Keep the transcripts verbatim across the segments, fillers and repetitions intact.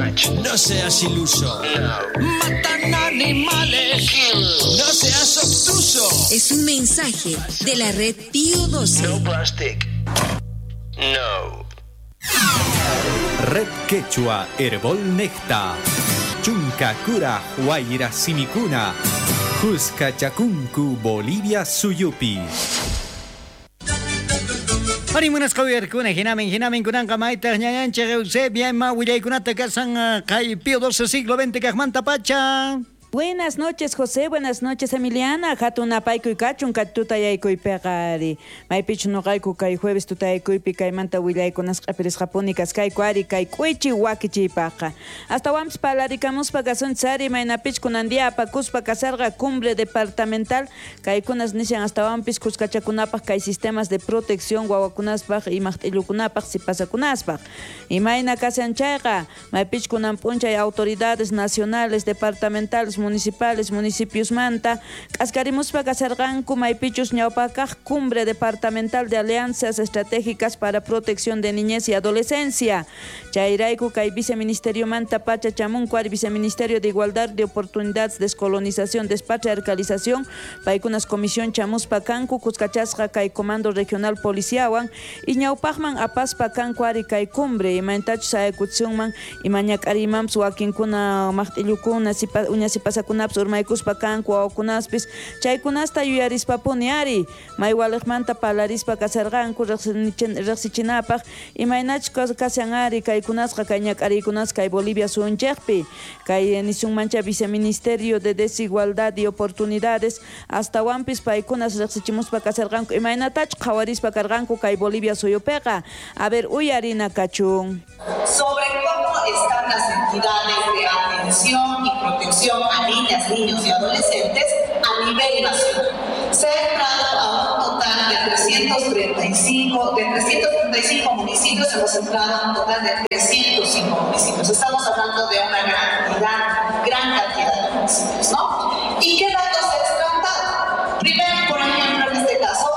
Touch. No seas iluso. No. Matan animales. Kill. No seas obtuso. Es un mensaje de la red Pío doce. No plastic. No. Red Quechua Herbol Necta. Chunka Kura Huayra Simikuna. Cusca Chacuncu Bolivia Suyupi. Arimunas kawiyarkuna hinamin hinamin kunanqa maytaq ñañanchik Eusebia ima willaykunata kasan kay Pío doce siglo veinte kaqmanta pacha. Buenas noches, José. Buenas noches, Emiliana. Hatun apaykuy kachun tutayaykuy ari. Maypichu noqayku kay jueves tutayakuypi kaymanta willaykunas q'apirisqapuni kaskayku ari kay k'uichi wakichiypaqqa. Astawanpis parlarikamuspa kasunchis ari maynapich kunan día apakuspa kasarqa cumbre departamental kaykunas nishan astawanpis kuskachakunapaq kay sistemas de protección wawakunaspaq imaqt'illukunapaq sipasakunaspaq. Imayna kasan chayqa maypich kunan p'unchay autoridades nacionales, departamentales, municipales, municipios manta, k'askarimuspa kasarqanku maypichus ñawpakaq cumbre departamental de alianzas estratégicas para protección de niñez y adolescencia. Chayrayku kay viceministerio manta pacha chamunku ari viceministerio de igualdad de oportunidades, descolonización, despatriarcalización, paykunas comisión chamuspa kanku kuskachasqa kay comando regional policiawan y ñawpaqman apaspa kanku ari kay cumbre imantachus ayakutsunman imañak'arimanpis wakinkuna maqt'illukuna sipa uña sipasakunapas urmaykuspa kanku wawakunaspis chaykunasta yuyarispapuni ari maywaliqmanta parlarispa kasarqanku riqsichinapaq imaynachus kasan ari kaykunasqa kay ñak'ariykunasqa kay Bolivia suyunchikpi kay nisunmancha viceministerio de desigualdad y oportunidades astawanpis paykunas riqsichimuspa kasarqanku imaynatachus qhawarispa karqanku kay Bolivia suyupiqa. A ver, uyarina kachun. Sobre cómo están las entidades de atención y protección a niñas, niños y adolescentes a nivel nacional. Se ha entrado a un total de trescientos treinta y cinco, de trescientos treinta y cinco municipios, hemos entrado a un total de trescientos cinco municipios. Estamos hablando de una gran cantidad, gran cantidad de municipios, ¿no? ¿Y qué datos se ha extractado? Primero, por ejemplo, en este caso,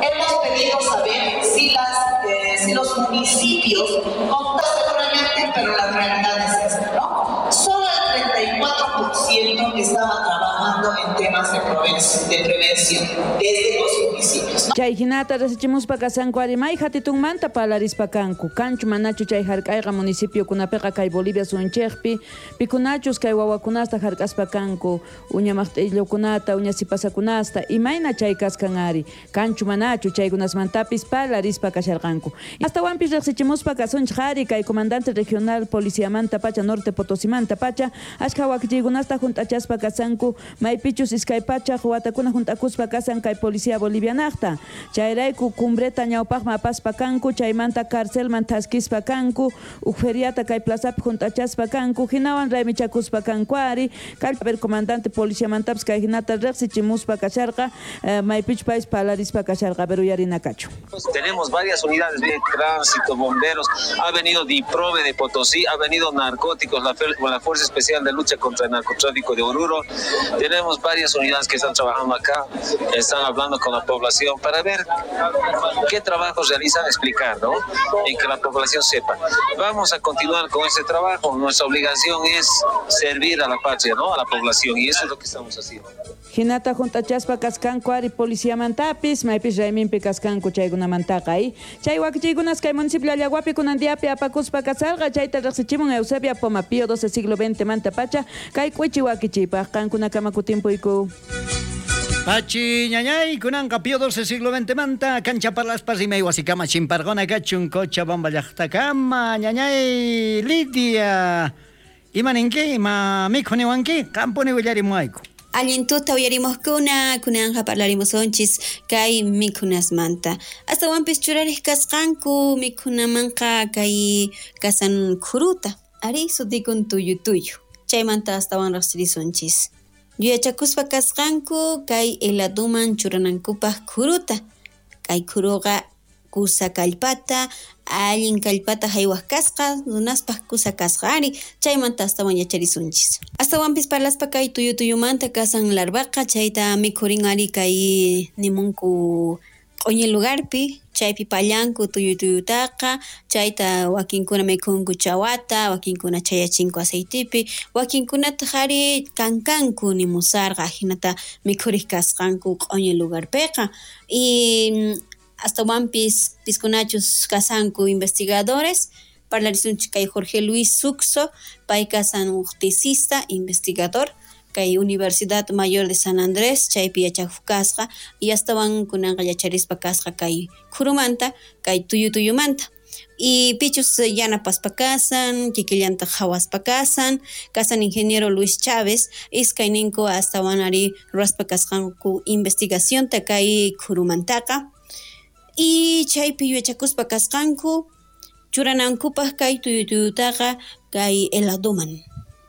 hemos pedido saber si, las, eh, si los municipios, contan seguramente, pero la realidad es esta, ¿no? Solo el treinta y cuatro por ciento estaba trabajando en temas de prevención, de prevención desde los municipios, ¿no? Chay hinata resichimuspa kasanku ari may hatitunmanta parlarispa kanku kanchu manachu chay hark'ayqa municipio kunapiqa kay Bolivia suyunchikpi pikunachus kay wawakunasta hark'aspa kanku uña maqt'illukunata uña sipasakunasta imayna chay kaskan ari kanchu manachu chaykunasmantapis parlarispa kasharqanku. Astawanpis riqsichimuspa kasunchik ari kay comandante regional policiamanta pacha norte Potosimanta pacha ashka wakichiykunasta junt'achaspa kasanku maypichus iskay pachaq watakuna junt'akuspa kasan kay policía bolivianaqta. Chayrayku cumbreta ñawpaqman apaspa kanku chaymanta carcelman thaskispa kanku uj feriata kay plazapi junt'achaspa kanku hinawan raymichakuspa kanku ari kallpa comandante policiamantapis kay hinata riqsichimuspa kasharqa maypichu paypis parlarispa kasharqa pero uyarina kachu. Tenemos varias unidades de tránsito, bomberos, ha venido DIPROVE de Potosí, ha venido narcóticos, la, la Fuerza Especial de Lucha contra el Narcotráfico de Oruro. Tenemos varias unidades que están trabajando acá, están hablando con la población para ver qué trabajos realizan, explicar, ¿no? Y que la población sepa. Vamos a continuar con ese trabajo. Nuestra obligación es servir a la patria, ¿no? A la población, y eso es lo que estamos haciendo. Hinata junt'achaspa kaskanku ari policiamantapis maypis rayminpi kaskanku chaykunamantaqa ay chay wakichiykunas kay municipio Allaguapi kunan diapi apakuspa kasarqa chayta riqsichimun Eusebia Poma Pío doce siglo veinte manta pacha kay k'uichi wakichiypaq qankunakama kutimpuyku. Pachi ñañay kunanqa Pío doce siglo veinte manta cancha parlaspas rimay wasikama chimparqona kachun Cochabamba llaqtakama ñañay Lidia ima ninki ima mikhuniwanki qampuni willarimuwayku. Allin tuta uyarimojkuna kunanja parlarimusonchis kay mikhunasmanta. Astawanpis churariq kasqanku mikhunamanqa kay kasan khuruta ari sutikun tuyu tuyu. Chaymanta astawan riqsirisunchis. Yuyachakuspa kasqanku kay heladuman churanankupaq khuruta. Kay khuruqa kusa kallpata, allin kallpata haywaq kasqa, runaspaq kusa kasqa ari, chaymanta astawan yacharisunchis. Astawanpis parlaspa kay tuyu tuyumanta kasan larvaqa, chayta mikhurin ari kay nimunku q'uñi lugarpi chaypi pallanku tuyu tuyutaqa chayta wakinkuna mikhunku chawata wakinkuna chayachinku aceitipi wakinkunataq ari kankanku nimusarqa ajinata mikhuriq kasqanku q'uñi lugarpiqa y astawanpis piskunachus kasanku investigadores parlarisunchik kay Jorge Luis Suxo pay kasan uj tesista investigador kay Universidad Mayor de San Andrés chaypi yachakuq kasqa y astawan kunanqa yacharispa kasqa kay khurumanta kay tuyu tuyumanta y pichus yanapaspa kasan kikillantaq qhawaspa kasan kasan ingeniero Luis Chávez iskayninku astawan ari ruwaspa kasqanku investigacionta kay khurumantaqa y chaypi yachakuspa kasqanku churanankupaq kay tuyu tuyutaqa kay heladoman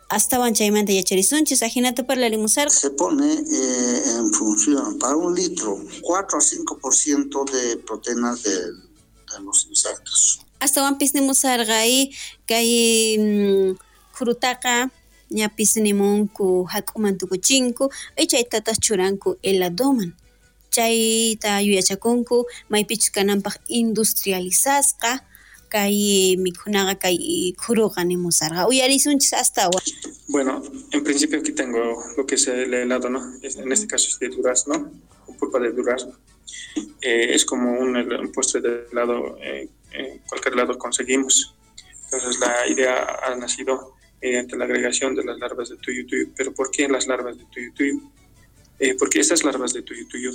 astawan chaymanta yacharisunchis ajinata parlarimusarqa. Se pone eh, en función para un litro cuatro a cinco por ciento de proteínas de, de los insectos. Astawanpis nimusarqa y kay khurutaqa ñapis nimunku hak'uman tukuchinku y chaytataq churanku heladoman chayta yuyachakunku maypichus kananpaq industrializasqa kay mikhunaqa kay khuruqa nimusarqa uyarisunchis astawan. Bueno, en principio aquí tengo lo que es el helado, ¿no? En este caso es de durazno, con pulpa de durazno. Eh, es como un, un postre de helado, eh, eh, cualquier helado conseguimos. Entonces la idea ha nacido mediante la agregación de las larvas de tuyu tuyu. ¿Pero por qué las larvas de tuyu tuyu? Eh, porque estas larvas de tuyu tuyu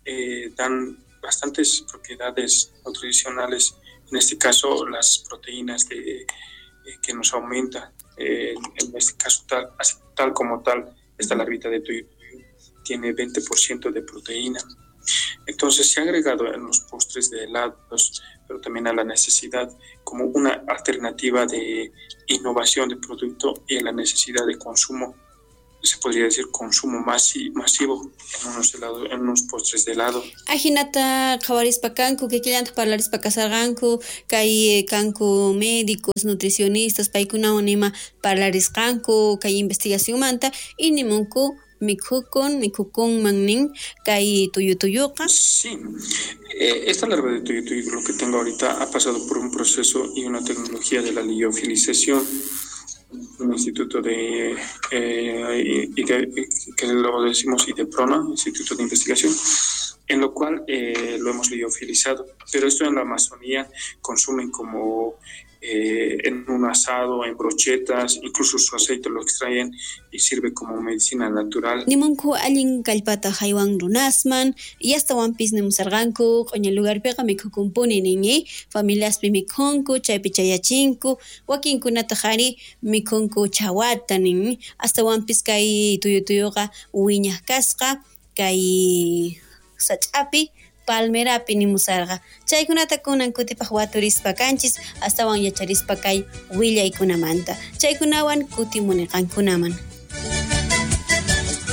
eh, dan bastantes propiedades nutricionales, en este caso las proteínas de, eh, que nos aumenta, eh, en este caso tal, así, tal como tal, esta larvita de tuyu tuyu tiene veinte por ciento de proteína. Entonces se ha agregado en los postres de helados, pero también a la necesidad como una alternativa de innovación de producto y a la necesidad de consumo, se podría decir consumo masi, masivo en unos helados, en unos postres de helado. Ajinata qhawarispa kanku, kikillantaq parlarispa kasarqanku, kay kanku médicos, nutricionistas, paykunawan ima parlarisqanku kay investigacionmanta y nimunku mikhukun, mikhukunman nin kay tuyu tuyuqa. Sí, eh, esta larva de tuyu tuyu, lo que tengo ahorita, ha pasado por un proceso y una tecnología de la liofilización, un instituto de, eh, de que lo decimos IDEPRONA, Instituto de Investigación, en lo cual eh, lo hemos liofilizado. Pero esto en la Amazonía consumen como eh, en un asado, en brochetas, incluso su aceite lo extraen y sirve como medicina natural. Nimunku allin kallpata haywan runasman, y astawanpis nimusarqanku, q'uña lugarpiqa mikhukunpuni nin, familiaspi mikhunku, chaypi chayachinku, wakinkunataq ari mikhunku chawata nin, astawanpis kay tuyu tuyuqa wiñaq kasqa, kay sach'api palmerapi nimusarqa. Chaykunata kunan kutipaq waturispa kanchis, astawan yacharispa kay willaykunamanta. Chaykunawan kutimuniqankunaman.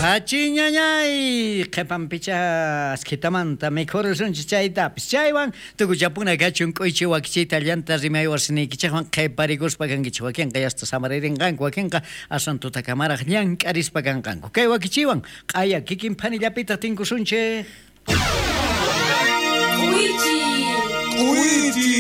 Achiñañay, qhipanpicha askitamanta mikhurisunchis chaytapis. Chaywan tukuchapuna kachun k'uychi wakichiyta llanta rimay wasiniykichikwan qhiparikuspa kankichik. Wakinqa yasta samaririnqanku, wakinqa aswan tutakamaraq llank'arispa kanqanku. Kay wakichiwan q'aya kikin phanillapitaq tinkusunchik. K'uychi. K'uychi.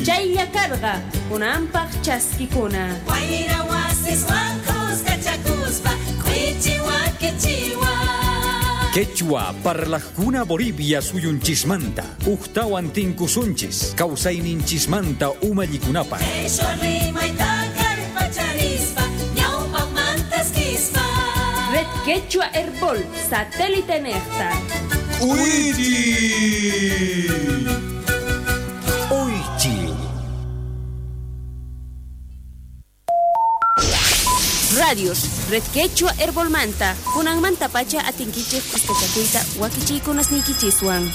Chaylla karqa kunanpaq chaskikuna. Wayra wasiswan kuskachakuspa k'uychi wakichiwan. Quechua parlajkuna Bolivia suyunchismanta, uqtawan tinkusunchis, kawsayninchismanta umallikunapaq. Qhishwa rimayta kallpacharispa ñawpaqmantaskispa. Red Quechua Herbol, satélite nejta. K'uychi. K'uychi. Radios, Red Quechua Herbolmanta, kunanmanta pacha atinkichik kuskachakuyta wakichiykunasniykichiswan.